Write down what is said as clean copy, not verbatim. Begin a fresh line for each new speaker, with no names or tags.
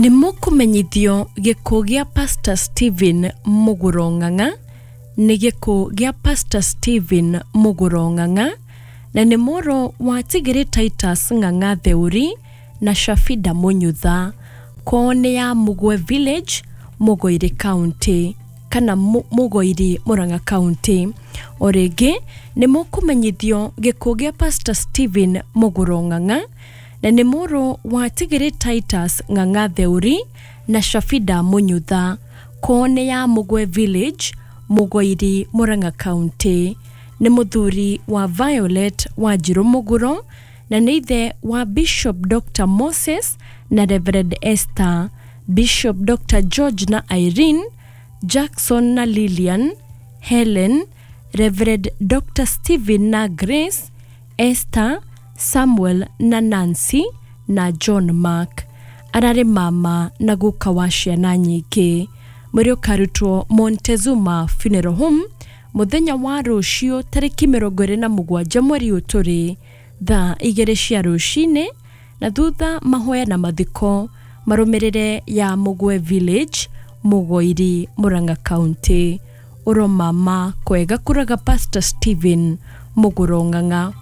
Nĩ mũkũmenyithio gĩkuũ gĩa Pastor Stephen Mũgũro Ng'ang'a. Nĩ gĩkuũ gĩa Pastor Stephen Mũgũro Ng'ang'a, na nĩ mũrũ wa Tigĩrĩ Titus Ng'ang'a Theuri na Shafida Mũnyutha. Kwao nĩ ya Mũgwe Village, Mũgoiri County, kana Mũgoiri, Murang'a County. O rĩngĩ nĩ mũkũmenyithio gĩkuũ gĩa Pastor Stephen Mũgũro Ng'ang'a, na nĩ mũrũ wa Tigĩrĩ Titus Ng'ang'a Theuri na Shafida Mũnyutha. Kwao nĩ ya Mũgwe Village, Mũgoiri, Murang'a County. Nĩ mũthuri wa Violet Wanjirũ Mũgũro, na nĩ ithe wa Bishop Dr. Moses na Reverend Esther, Bishop Dr. George na Irene, Jackson na Lilian, Helen, Reverend Dr. Stephen na Grace, Esther, Samuel na Nancy na John Mark. Ararĩ mama na guka wa ciana nyingĩ. Mwĩrĩ ũkarutwo Montezuma Funeral Home mũthenya wa rũciũ tarĩki 27 mweri ũyũ tũrĩ, thaa 2 cia rũcinĩ, na thutha mahoya na mathiko marũmĩrĩre ya Mũgwe Village, Mũgoiri, Murang'a County. Ũro mama kwega kũraga Pastor Stephen Mũgũro Ng'ang'a.